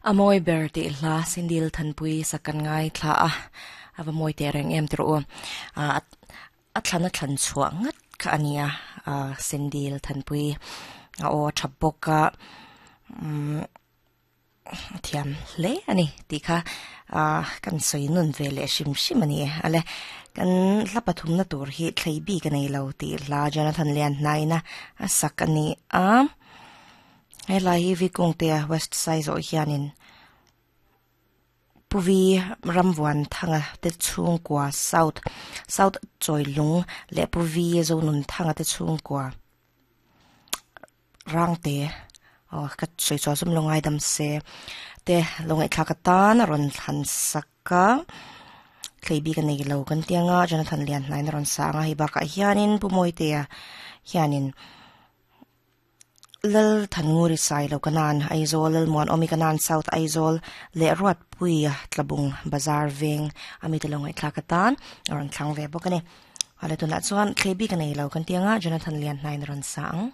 A mawi ber tih hla Sindil Thanpui sak kan ngaithla a, a va mawi teh reng em tirh u. A thlan a thlan chhuah ngat kha a nia, Sindil Thanpui a aw a tha bawk a, a thiam hle a ni tih kha kan sawi nun ve leh hrim hrim a ni e. Ale kan hla pathumna tur hi thlei bik a nei lo tih hla Jonathan Lianhnaina a sak a ni a. Helai hi Vikungtea West Saizawh hianin Puvi Ramvuanthanga te chhungkua South South Chawilung leh Puvi Zonunthanga te chhungkua Rangte aw ka sawi chhuah zawm lo ngaidam se te lo ngaihthlak atan a rawn thlan sak a thlei bik a nei lo kan ti anga Jonathan Lianhnain a rawn sa ang a hei bakah hianin Pu Mawitea hianin. Lal Thannguri Sailo Kanan, Aizawl, Lalmuanawmi Kanan, South Aizawl leh Ruatpuia Tlabung Bazar veng a mite lo ngaihthlak atan a rawn thlang ve bawk a ni. Awle tunah chuan thlei bik a nei lo kan ti anga Jonathan Lianhnain a rawn sa ang.